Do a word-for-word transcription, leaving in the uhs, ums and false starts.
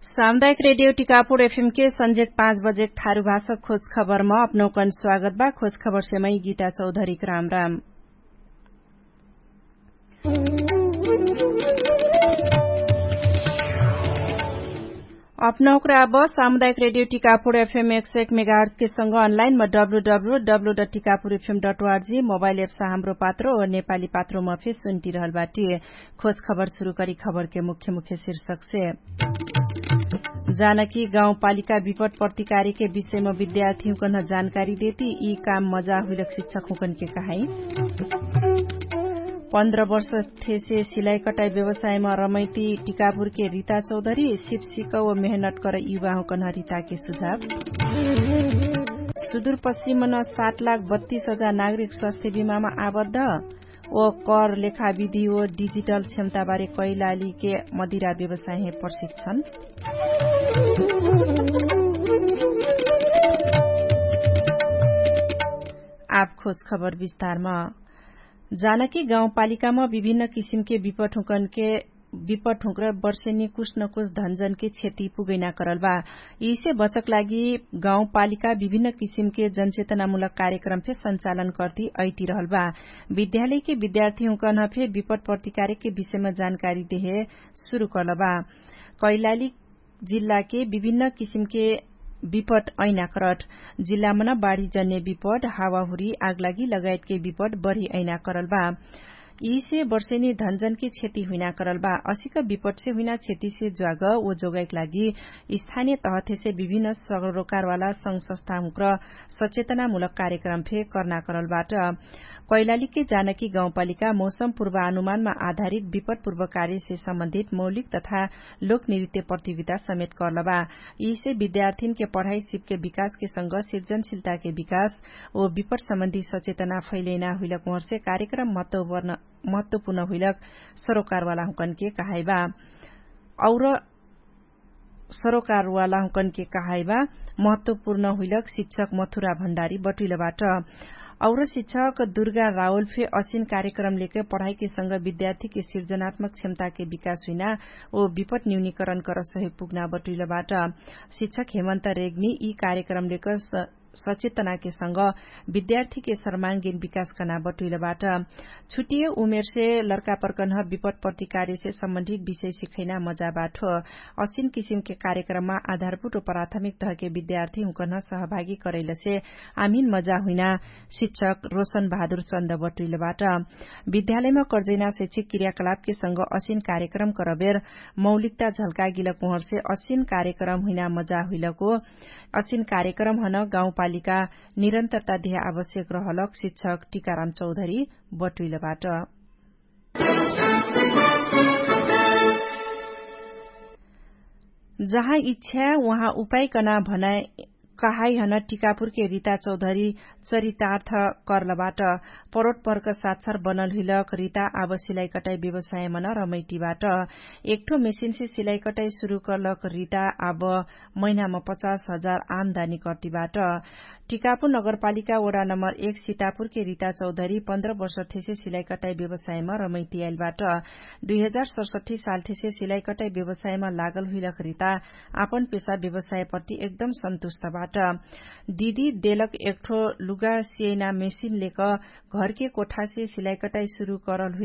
सामुदायिक रेडियो टिकापुर एफएमके सन्जेक पाँच बजेक ठारु भाषक खोज खबरमा अपनौकन स्वागत बा। खोज खबरसे मै गीता चौधरीक राम राम। अपनौकरा अब सामुदायिक रेडियो टिकापुर एफएम एक सय एक मेगाहर्चके सँग अनलाइन म W W W dot Tikapur F M dot O R G mobile apps हाम्रो पात्रो नेपाली पात्रोमा फे सुन्टिरहल बाटी। खोज खबर सुरु करी खबरके मुख्य मुख्य शीर्षकसे। जानकी गाउँपालिका विपट प्रतिकारीके विषयमा विद्यार्थीहुँकन जानकारी देती यी काम मजा हुइलक शिक्षकहुँकनके कहाई। पन्ध्र वर्ष थेसे सिलाइकटाइ व्यवसायमा रमैती टिकापुरके रिता चौधरी सिपसिक व मेहनत कर युवाहुँकन रिताके सुझाव। सुदुरपश्चिमन सात लाख बत्तीस हजार नागरिक स्वास्थ्य बिमामा आबद्ध। ओ कर लेखाविधि ओ डिजिटल क्षमताबारे कैलालीके मदिरा व्यवसाय हे प्रशिक्षण। आब खोज खबर विस्तारमा। जानकी गाउँपालिकामा विभिन्न किसिमके विपटहुँकनके विपटहुँक्र वर्षेनी कुछ न कुछ धनजनके क्षति पुगैना करल बा। यिसे बचक लागि गाउँपालिका विभिन्न किसिमके जनचेतनामूलक कार्यक्रम फे सञ्चालन कर्ती अइटिरहल बा। विद्यालयके विद्यार्थीहुँकन फे विपट प्रतिकारेके विषयमा जानकारी देहे सुरु करल बा। कैलाली जिल्लाके विभिन्न किसिमके विपट अइना करट। जिल्लामन बाढीजन्य विपट हावाहुरी आगलागी लगायतके विपट बढी अइना करल बा। यिसे वर्षेनी धनजनके क्षति हुइना करल बा। असिक विपटसे हुइना क्षतिसे ज्वाग ओ जोगाइक लागि स्थानिय तहथेसे विभिन्न सरोकारवाला संघ संस्थाहुँक्र सचेतनामूलक कार्यक्रम फे कर्ना करल बाट। कैलालीके जानकी गाउँपालिका मौसम पूर्वानुमानमा आधारित विपट पूर्वकार्यसे सम्बन्धित मौलिक तथा लोकनृत्य प्रतियोगिता समेत कर्ल बा। यिसे विद्यार्थिनके पढाइ सिपके विकासके संग सिर्जनशिलताके विकास ओ विपट सम्बन्धी सचेतना फैलैना हुइलक उहर्से कार्यक्रम महत्वपूर्ण हुइलक सरोकारवालाहुँकनके कहाइबा। और सरोकारवालाहुँकनके कहाइबा महत्वपूर्ण हुइलक शिक्षक मथुरा भण्डारी बटुइलबाट। और शिक्षक दुर्गा रावल फे असिन कार्यक्रम लेके पढाइके संग विद्यार्थीके सिर्जनात्मक क्षमताके विकास हुइना ओ विपट न्यूनीकरण कर सहयोग पुग्ना बटुइलबाट। शिक्षक हेमन्त रेग्मी यि कार्यक्रम लेके सचेतनाके संग विद्यार्थीके सर्माङ्गीन विकास कर्ना बटुइलबाट। छुटिय उमेरसे लर्कापर्कन्ह विपट प्रतिकार्यसे सम्बन्धित विषय सिखैना मजाबाट। असिन किसिमके कार्यक्रममा आधारभूत प्राथमिक तहके विद्यार्थीहुँकन्ह सहभागी करैलसे आमिन मजा हुइना शिक्षक रोशन बहादुर चन्द बटुइलबाट। विद्यालयमा कर्जैना शैक्षिक क्रियाकलापके संग असिन कार्यक्रम करबेर मौलिकता झल्कागिलक उहर्से असिन कार्यक्रम हुइना मजा हुइलको असिन कार्यक्रमहन गाउँपालिका निरन्तरता देह आवश्यक रहलक शिक्षक टिकाराम चौधरी बटुइलबाट। जहाँ इच्छा उहाँ उपायकना भनाइ कहाइहन टिकापुरके रिता चौधरी चरितार्थ कर्लबाट। परोटपर्क साक्षर बनल हुइलक रिता आब सिलाइकटाइ व्यवसायमन रमैटीबाट। एकठो मेसिनसे सिलाइकटाइ सुरु कर्लक रिता आब महिनामा पचास हजार आमदानी कर्तिबाट। टिकापुर नगरपालिका वडा नम्बर एक सितापुरके रिता चौधरी पन्ध्र वर्ष थेसे सिलाइकटाइ व्यवसायमा रमैतियाइलबाट। दुई हजार सरसठी साल थेसे सिलाइकटाइ व्यवसायमा लागल हुइलक रिता आपन पेसा व्यवसायप्रति एकदम सन्तुष्टबाट। दिदी देलक एकठो लुगा सियैना मेसिन लेक घरके कोठासे सिलाइकटाइ सुरु करल हुइल।